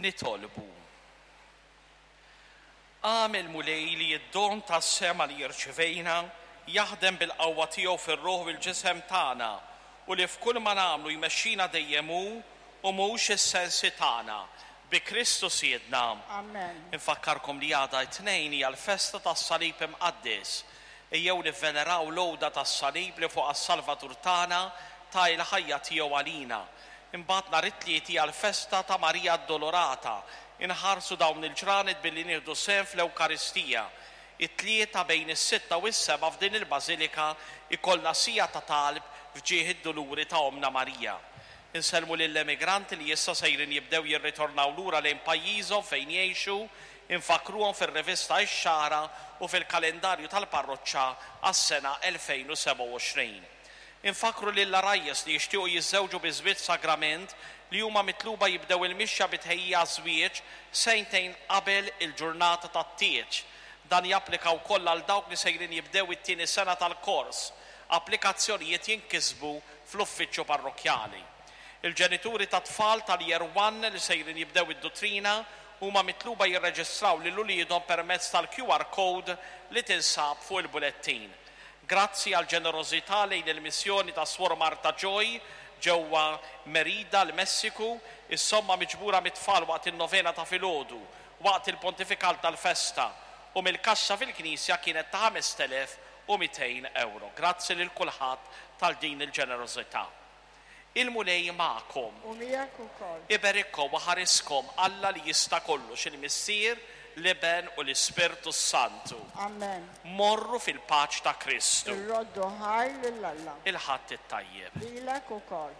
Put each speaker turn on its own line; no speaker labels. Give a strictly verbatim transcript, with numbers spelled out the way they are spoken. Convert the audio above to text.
Nitolbu. Agħmel, Mulej, li d-don tas-sema li rċivejna jaħdem bil-qawwa tiegħu fir-ruħ u l-ġisem tagħna u li f'kull ma nagħmlu jmexxina dejjem hu u mhux is-sensi tagħna. Bi Kristu Sidna.
Amen.
Infakkarkom li għada t-Tnejn hija l-festa tas-Salib Imqaddes. Ejjew nivveneraw l-għuda tas-salib li fuqha s-Salvatur tagħna ta l-ħajja tiegħu għalina. Imbagħad nhar it-Tliet hija l-festa ta' Marija Addolorata. Inħarsu dawn il-ġranet billi nieħdu sehem fl-Ewkaristija. It-Tlieta bejn is-sitta u s-sebgħa f'din il-Bażilika ikollna siegħa ta' talb f'ġieħ id-duluri ta' Omna Marija. Insellmu lill-emigranti li issa sejrin jibdew jirritornaw lura lejn pajjiżhom fejn jgħixu, infakruhom fir-rivista Ix-Xagħra u fil-kalendarju tal-parroċċa għas-sena elfejn u sebgħa u għoxrin. Infakru lill-għarajjes li jixtiequ jiżżewġu bi żwieġ sagrament li huma mitluba jibdew il-mixja bi tħejjija għaż-żwieġ sentejn qabel il-ġurnata tat-tieġ. Dan japplika wkoll għal dawk li sejrin jibdew it-tieni sena tal-kors. Applikazzjonijiet jinkisbu fl-uffiċċju parrokkjali. Il-ġenituri ta' tfal tal-Year one li sejrin jibdew id-duttrina huma mitluba jirreġistraw lil uliedhom permezz tal-Q R code li tinsab fuq il-bulettin. Grazzi għal ġenerożità lejn il-missjoni ta' Swor Marta Joy ġewwa Merida, l-Messiku, is-somma miġbura mit-tfal waqt in-novena ta' filgħodu, waqt il-pontifikal tal-festa u mill-kaxxa fil-Knisja kienet ta' ħamest elef u mitejn euro. Grazzi lil kulħadd tal din il-ġenerożità. Il-Mulej magħkom.
U miegħek ukoll.
Iberikkom u ħariskom Alla li jista' kollox, il-Missier, l-Iben u l-Ispirtu Santu.
Amen.
Morru fil-paċ ta' Kristu.
Irroddu ħaj lil Alla.
Il-Ħadd it-tajjeb.
Lilek ukoll.